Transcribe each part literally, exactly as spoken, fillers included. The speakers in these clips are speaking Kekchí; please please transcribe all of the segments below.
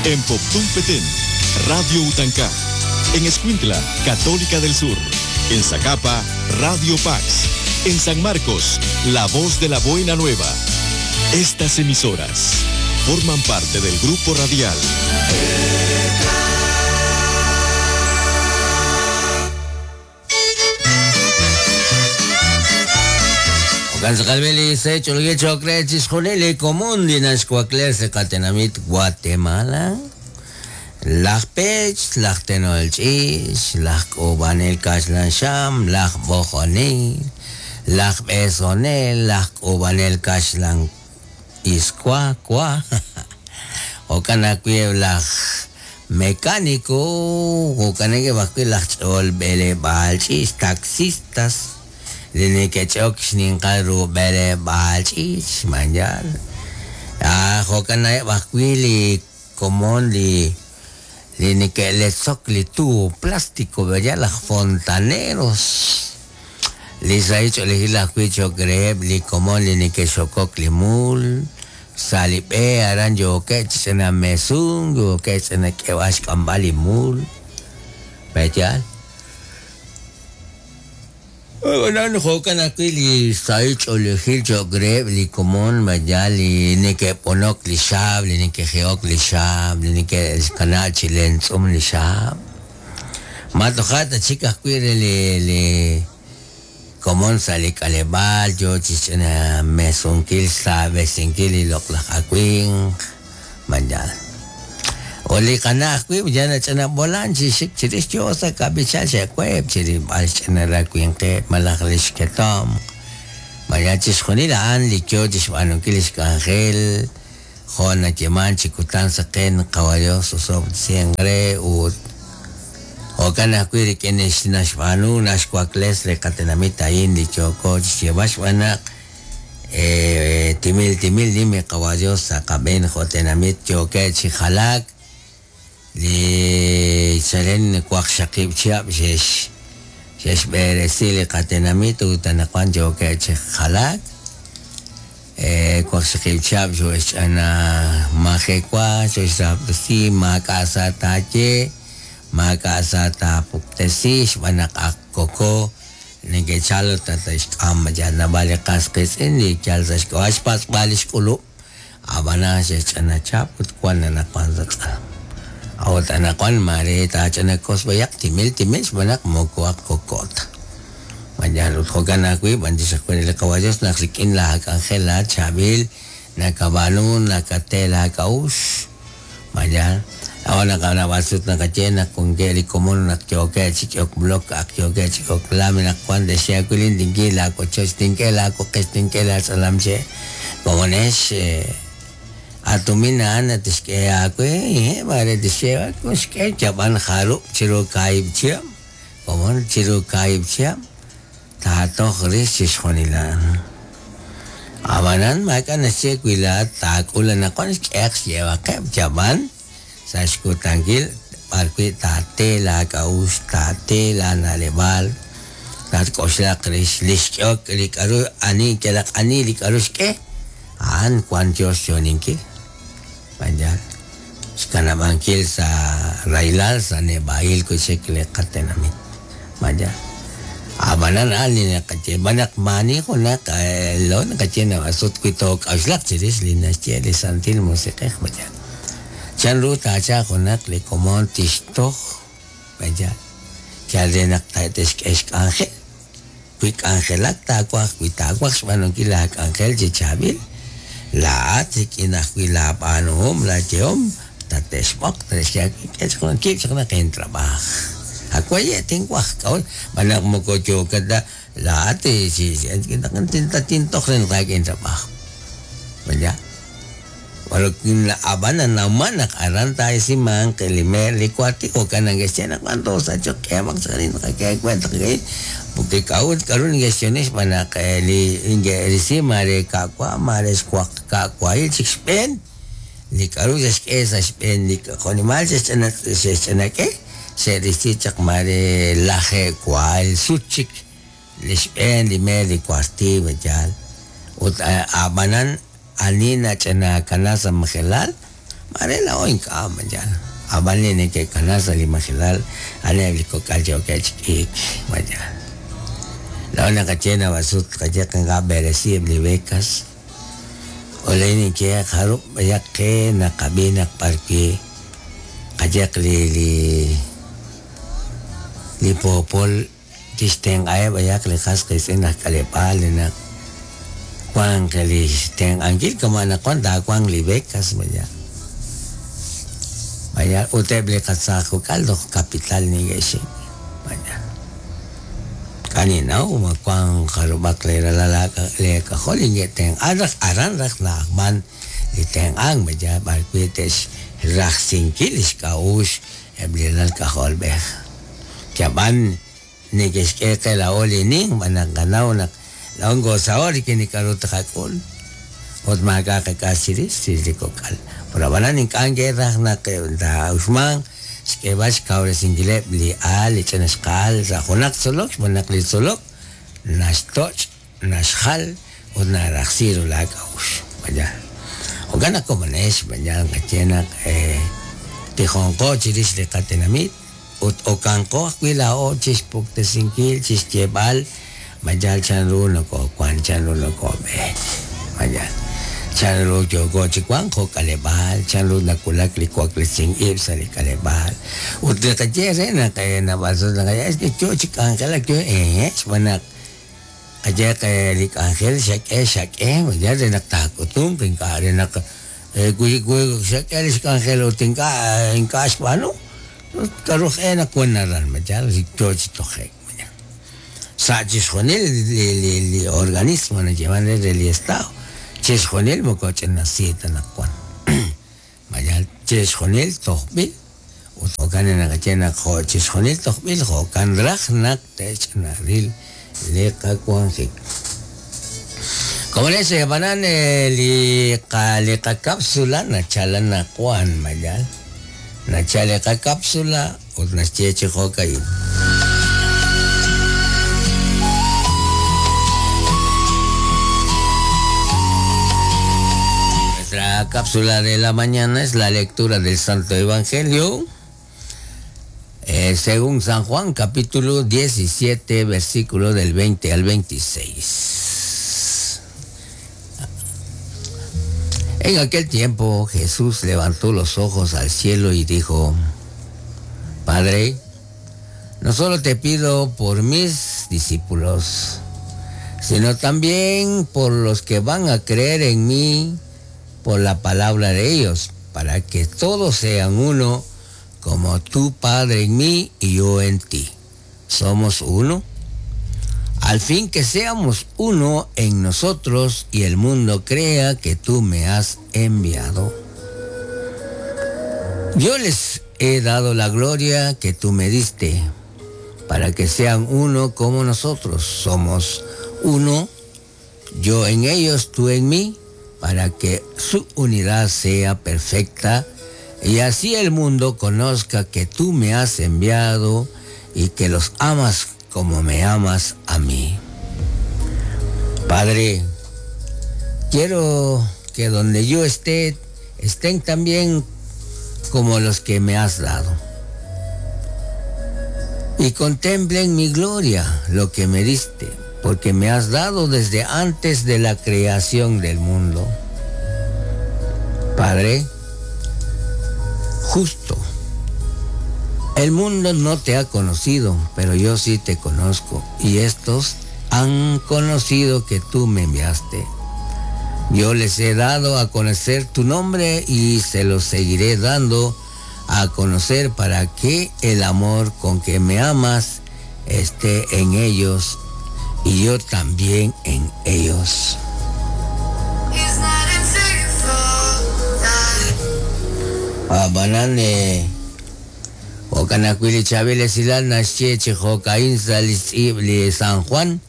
En Poptún Petén, Radio Utancá. En Escuintla, Católica del Sur. En Zacapa, Radio Pax. En San Marcos, La Voz de la Buena Nueva. Estas emisoras forman parte del grupo radial Gansakalbeli se chulgi chokre chisjolele común dinashcuacler se catenamit Guatemala. Laj pech, laj tenolchis, laj kubanel kashlan sham, laj bojonil, laj besonel, laj kubanel kashlan iskua kua. Okanakui laj mecánico, okaneke bakui laj chol bele balchis, taxistas. Linikechok xninqal bele balchis, manjal. Ah, okanay bakui li komon li linikeletzok li tubo plástico, ¿verdad? Las fontaneros. Lisaicho li kuicho greb li komon li nikechokok li mul. Salipe aran yo kech en mesun, yo kech en kewash kambali mul. ¿Verdad? Bueno, jokan aquí li saicho li gilcho greb li komon, ¿verdad? Li nikeponok li shab, li nikejeok li shab, li nike kanal chilenzum li shab. Matojata chicas cuire li li komon sali kalebal, yo chichena mesunkil sabe sinkil li loklajakuin, ¿verdad? Oli kana kui jana chana bolan chi shik chirish yo sa kabichal che kweb chiri bal chana ra kuin ke malakhlish ketom maya chishkhonil an li kyo chishbanu kilish kangel jona cheman chikutan saqen qawayo sosob siengre ut o kana kui ri kenesh nashbanu nashkwakles le katenamita in li choko chishbashwana eh timil timil dime qawayo saqaben jotenamit choke chikhalak li chalen kwaqshaqib chiab xex xex beresi li qatenamit utanaqwan choke chikhalak eh kwaqshaqib chiab xox ana majekwa xox rapsi makasa tache makasa tapuktesi xbanaq akkoko ningechalo tatashk'am yana vale qasqis li chalsashk'ash pasbalish k'ulu abana xex chana chap utkuan anaqwan satz'alam Aotanakuan mare tachanakos bayak timil timil xbanak mokoak kokota. Mañana utjokanakui bandisakuen el caballos naxikin la angela chabil nakabanu nakatela kaush. Mañana ahora kana basut nakachena con geli común nakyoke chikyok blok akyoke chikyok lamina kuan de shakulin dinki la kochos dinki la kokes dinki la salamche comones atumina ana tishke akwe eh mare tishke kushke chaban haru chiru kaib chiam komon chiru kaib chiam tato khris shkhonila abanan makan che kuila takula na kon x lleva ke chaban sashku tangil parque tate la kaus tate la nalebal tat koshla khris lishok likaru ani kelak ani likarushke an kwan Dios yoninki Banjal xkanab'ankil sa railal sa nebail kuchek le qatenamit Banjal abanan ani naqache banak mani junak lo naqache nabasut kuitok awxlaq chirix li naxye li santil musiqej Banjal chan ru tacha junak li komon tixtoj Banjal chal re naq ta'texk'ex k'anjel wi k'anjelak takuaj wi takuaj xb'anonkil la k'anjel chichabil la atik inajwi la panuhum la cheom tatexbok tatexyaki kechkon kipchkon ken trabaj akwaye tinguaj kaul banak mokocho kada la ate si tinta tintok ren ken trabaj vaya walakin la abana naumanak aranta isiman kelimer likwati o kanang gestionak cuanto sacho que mak sarin que cuenta que porque kaul karun gestiones banak li inge mare kakwa mare squak kakwa il chixpen li karu es espen li konimal se se que se dice mare laje cual suchik lispen li me li cuarti bejal ut abanan anina chana kanasa majelal Mare laa'o ink'a' mayal. Ab'an li neke'kana sa' li majelal a'aneb' li kok'al yookeb' chi k'iik mayal. Laa'o naqaye nab'asut qaye nqab'eresi eb' li becas. Ole ninye jarub' b'ayaq qe naqab'i naq b'arwi' qayeq li li li poopol tixtenq'aheb' b'ayaq li qas qiitz'in aj k'aleb'aal li naq wanq li xtenq'ankil kama' naq wan taawanq li becas vaya. Vaya ut eb' li qatzaj kok'al toj capital neke'xik vaya. K'aninaw ma wanq jarub'aq li ralal li k'ajol neke'tenq'an raj aran raj na'ajman li tenq'ank vaya b'arwi' te'xrajsinkil li xk'a'uxl eb' li ralal k'ajolb'ej. Yab'an neke'xk'e qe laa'o li nin b'an naq qanaw naq laa'o nkoosaho' rik'in li k'a'ru taqak'ul ut maak'a' qak'as chirix chirix li kok'al. Pero ab'anan ink'a' nke'raj naq taa'uxmanq xk'eeb'al xkawresinkileb' li aal li ch'ina xqa'al sa' junaq tzolok xb'aan naq li tzolok naxtoch' naxjal ut narajsi ru laak'a'uxl. Vaya. Jo'kan naq komonex vaya qaye naq tijonqo chirix li qatenamit ut okanqo ajwi' laa'o chixpuktesinkil chixyeeb'al mayal chanru nokoowan chanru nokoob'eek mayal chanru yooko chi wank jo' k'aleb'aal chanru nawulak li waklesink ib' sa' li k'aleb'aal ut li qaye re naq nab'asut naqaye es que yo chi k'anjelak yo eh xb'aan naq qayeq li k'anjel xak'e xak'e mayal re naq taak'utunq ink'a' re naq wi wi xak'e li xk'anjel ut ink'a' ink'a' xb'aanu k'aru e naq wan aran mayal yo chi toje'k sa' chixjunil li li li organismo nayeeman re re li estado chixjunil moko ch'inasi ta naq wan mayal chixjunil tojb'il ut jo'kan naqaye naq jo' chixjunil tojb'il jo'kan raj naq te'ch'inaril li qawanjik. Como les ab'anan li qa li qakapsula nachala naq wan mayal nachala li qakapsula ut naxye chi jo'ka'in. Nuestra cápsula de la mañana es la lectura del Santo Evangelio eh, según San Juan, capítulo diecisiete, versículo del veinte al veintiséis. En aquel tiempo Jesús levantó los ojos al cielo y dijo: Padre, no solo te pido por mis discípulos, sino también por los que van a creer en mí por la palabra de ellos, para que todos sean uno, como tú, Padre, en mí y yo en ti. Somos uno, al fin que seamos uno en nosotros y el mundo crea que tú me has enviado. Yo les he dado la gloria que tú me diste, para que sean uno como nosotros somos uno, yo en ellos, tú en mí, para que su unidad sea perfecta y así el mundo conozca que tú me has enviado y que los amas como me amas a mí. Padre, quiero que donde yo esté, estén también como los que me has dado. Y contemplen mi gloria, lo que me diste, porque me has dado desde antes de la creación del mundo. Padre, justo, el mundo no te ha conocido, pero yo sí te conozco, y estos han conocido que tú me enviaste. Yo les he dado a conocer tu nombre y se los seguiré dando a conocer para que el amor con que me amas esté en ellos y yo también en ellos. Abanane Okanakwili Chavile Silal Naxche Chijokain Salis Ibli San Juan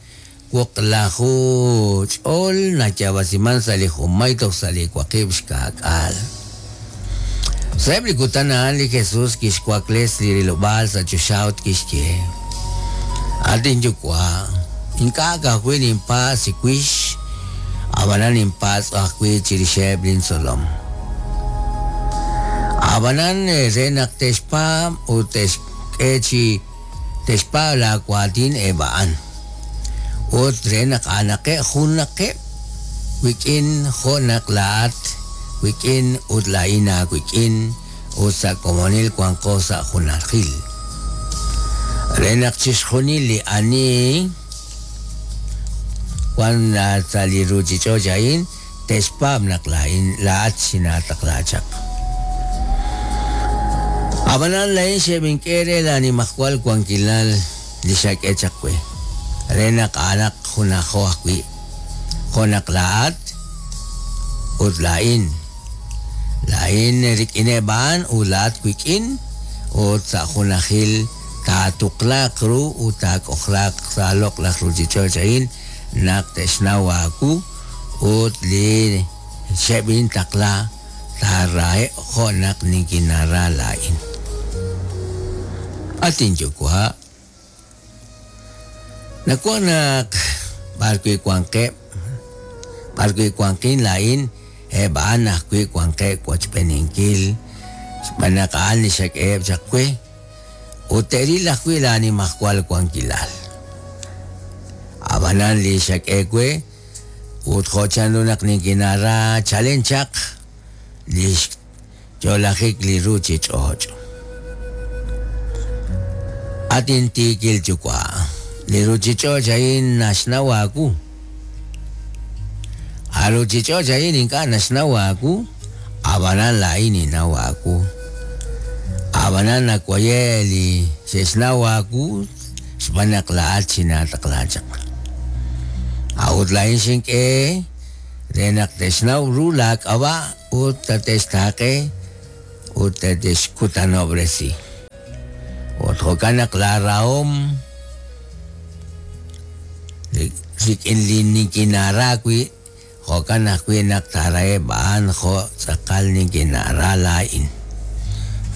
Wuqlahu Ch'ol Nachabasiman Sali Jumaytoq Sali Waqib Xkak'al. Sa'eb li kutan a'an li Jesús kixwakles li rilob'aal sa' choxawt kixye: Atin yuwa, ink'a' kajwi' ninpaas siwix, ab'anan ninpaatz' ajwi' chirixeb' lintzolom. Ab'anan re naq te'xpaab' ut te'xk'e chi te'xpaab' laawaatin eb' a'an. Ut re naq a'anaqeb' junaqeb' wik'in jo' naq laa'at wik'in ut laa'in aawik'in ut sa' komonil wanqo sa' junajil. Re naq chixjunil li ani wan sa' li ruuchich'och' a'in te'xpaab' naq laa'in laa'at xinaataqla chaq. Ab'anan laa'in xeb'ink'e re laanimajwal wankilal li xak'e chaq we. Re naq a'anaq junajo ajwi' jo' naq laa'at ut laa'in. Laa'in rik'ineb' a'an ut laa'at wik'in ut sa' junajil taatuqlaaq ru ut taak'ojlaaq sa' loq'laj ruuchich'och' a'in naq te'xnaw aawu ut li xeb'intaqla taaraheb' jo' naq nikinara laa'in. At inyuwa', nawaj naq b'arwi' wanqeb', b'arwi' wanqin laa'in eb' a'an ajwi' wanqeb' wochb'eeninkil xb'aan naq a'an li xak'eheb' chaq we ut te'ril ajwi' laanimajwal wankilal. Ab'anan li xak'e we ut jo' chanru naq nikinara chalen chaq li xyo'lajik li ruuchich'och'. At intiikil yuwa', li ruuchich'och' a'in naxnaw aawu. A ruuchich'och' a'in ink'a' naxnaw aawu, ab'anan laa'in ninnaw aawu. Ab'anan nawaye li xe'xnaw aawu xb'aan naq laa'at xinaataqla chaq. A'ut laa'in xink'e re naq te'xnaw ru laak'ab'a' ut tate'xtaaqe ut tate'xkutanob'resi. Ut jo'kan naq laarahom rik'in li nikinara wi' jo'kan ajwi' naq taaraheb' a'an jo' tz'aqal nikinara laa'in.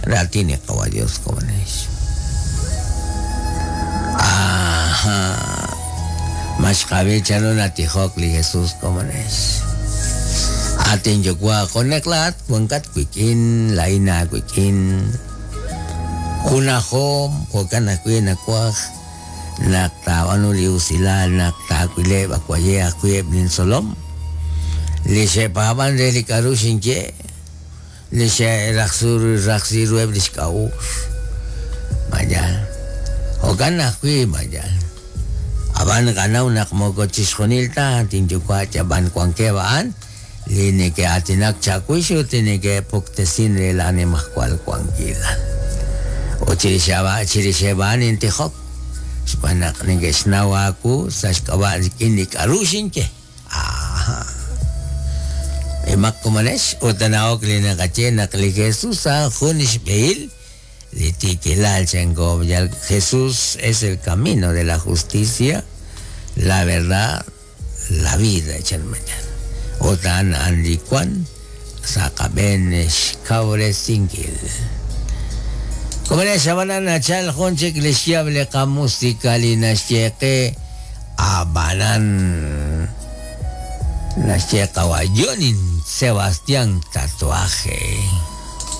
Raatin li Qawa' Dios komonex. Ajá. Maxqab'i chanru natijok li Jesús komonex. At inyuwa' jo' naq laa'at wankat wik'in laa'in aawik'in. Junajom jo'kan ajwi' nawaj naq taab'aanu li usilal naq taawileb' awaye ajwi' eb' lintzolom. Li xe'paab'an re li k'a'ru xinye, li xe'rajsu rajsi ruheb' li xk'a'uxl. Mayal. Jo'kan ajwi' mayal. Ab'an qanaw naq moko chixjunil ta tinyuwa' yab'an wankeb' a'an li neke'aatinak chawix ut li neke'puktesin re laanimajwal wankilal. Ut chirix chirixeb' a'an intijok xb'aan naq neke'xnaw aawu sa' xk'ab'a' rik'in li k'a'ru xinye. Aha. Imaq komonex ut na'ok li naqaye naq li Jesús a'an jun xb'ehil li tiikilal chanko. Jesús es el camino de la justicia, la verdad, la vida chan mañana. Ut a'an a'an li wan sa' qab'een xkawresinkil. Komonex ab'anan nachal jun chik li xyaab' li qamusika li naxye qe ab'anan naxye qawa' Yonin Sebastián Tatuaje.